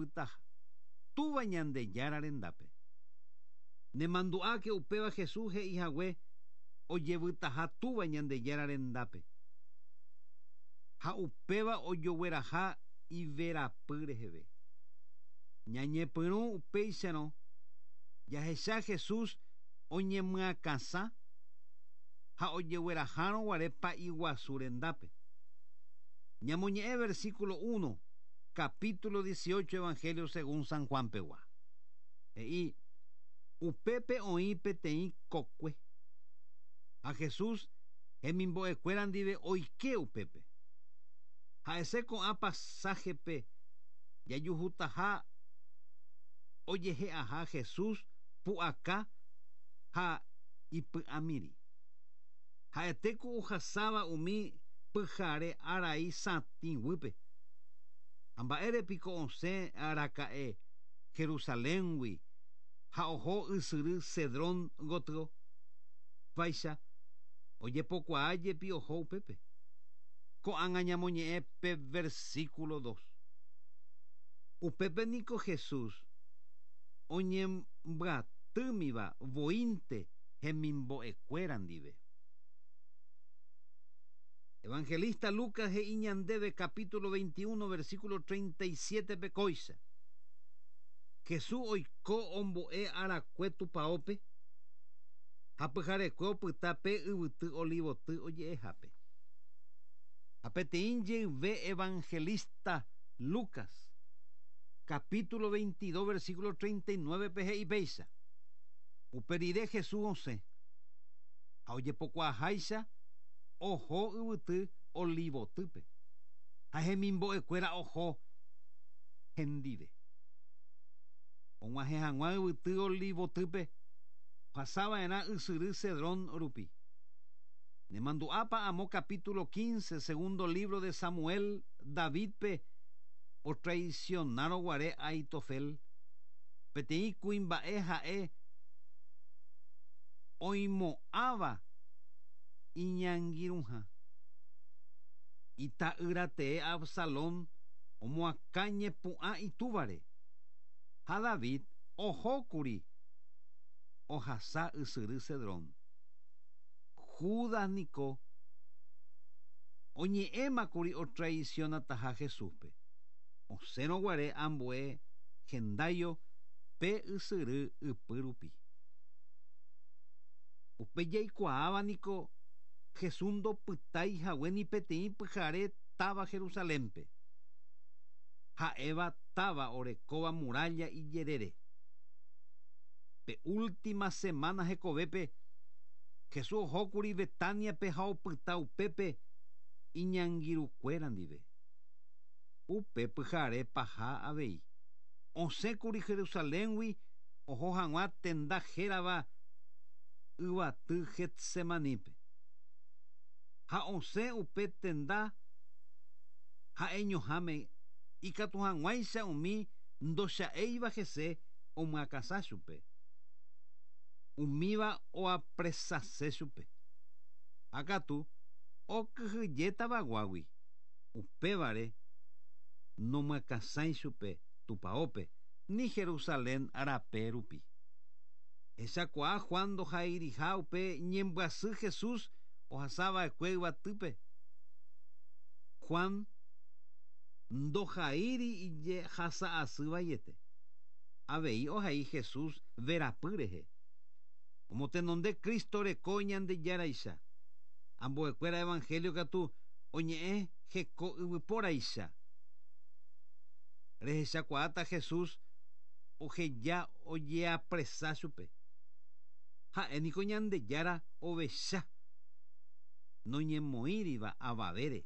ojevytaha Túva Ñandejára rendápe. Nemandu'áke upéva Jesús he'ihague ojevytaha Túva Ñandejára rendápe. Ha upéva ojogueraha iverapy reheve. Ñañepyrũ upéicharõ jahecha Jesús oñemyakãsã ha ojeguerahárõ guare pa'i guasu rendápe. Ñamoñe'ẽ versículo 1, capítulo 18 Evangelio según San Juan pegua. He'i, Upépe oĩ peteĩ kokue. Ha Jesús hemimbo'ekuéra ndive oike upépe. Ha'ese ko'ã pasaje-pe jajuhutaha ojehe'aha Jesús pu'aka ha ipy'amirĩ. Ha'ete ku ohasáva umi pyhare arai satĩ guýpe. Ha mba'ére piko osẽ raka'e Jerusaléngui ha oho ysyry Cedrón gotyo? Vaicha ojepokuaa jepi oho upépe. Ko'ág̃a ñamoñe'ẽ pe versículo 2. Upépe niko Jesús oñembyatýmiva voínte hemimbo'ekuéra ndive. Evangelista Lucas he'i ñandéve capítulo 21 versículo 37-pe kóicha: Jesús oiko ombo'e arakue tupaópe ha pyharekue opyta pe yvyty Olivoty oje'ehápe. Ha peteĩ jeyve evangelista Lucas, capítulo 22 versículo 39-pe he'i péicha: Upe rire Jesús osẽ, ha ojepokuaaháicha oho yvyty Olivotýpe, ha hemimbo'ekuéra oho hendive. Og̃uahẽ hag̃ua yvyty Olivotýpe, ohasava'erã ysyry Cedrón rupi. Nemandu'ápa amo capítulo 15, segundo libro de Samuel, Davídpe otraisionárõ guare Ahitofel, peteĩ kuimba'e ha'e oimo'ãva iñangirũha. Ita'ýra tee Absalón omoakã ñepu'ã itúvare, ha David ohókuri ohasa ysyry Cedrón. Judas niko oñe'ẽmakuri otraisionataha Jesúspe, osẽrõ guare ambue hendáio pe ysyry ypy rupi. Upe jaikuaáva niko Jesús ndopytái hague ni peteĩ pyhare táva Jerusalénpe, ha'éva táva orekóva muralla ijerére. Pe última semana hekovépe, Jesús ohókuri Betániape ha opyta upépe iñangirũkuéra ndive. Upe pyhare paha avei, osẽkuri Jerusaléngui oho hag̃ua tenda hérava yvaty Getsemanípe. Ha osẽ upe tenda ha'eñoháme ikatu hag̃uáicha umi ndocha'éiva hese omyakãsã chupe. Umíva oapresase chupe. Ha katu okyhyje tavaguágui, upévare nomyakãsãi chupe tupaópe ni Jerusalén rape rupi. Hechakuaa Juan ndohairiha upe ñembyasy Jesús ohasava'ekue yvatýpe. Juan ndohaíri ijehasa'asy vaiete. Avei ohai Jesús verapy rehe. Omotenonde Cristo reko Ñandejáraicha. Ambuekuéra Evangelio katu oñe'ẽ heko yvypóraicha. Rehechakuaáta Jesús oheja ojeapresa chupe. Ha'e niko Ñandejára ovecha, noñemoĩriva avavére.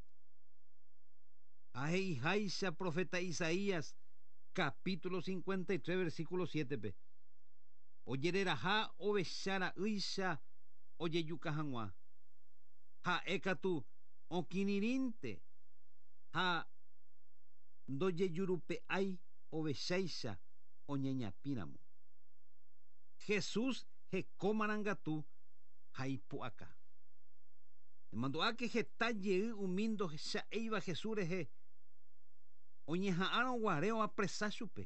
Ha he'iháicha profeta Isaías capítulo 53 versículo 7-pe, Ojereraha ovecha ra'ýicha ojejuka hag̃ua. Ha'e katu okĩrirĩnte ha ndojejurupe'ái ovecháicha oñeñapĩramo. Jesús heko marangatu ha ipu'aka. Nemandu'áke heta jey umi ndohecha'éiva Jesús rehe oñeha'ãrõ guare oapresa chupe.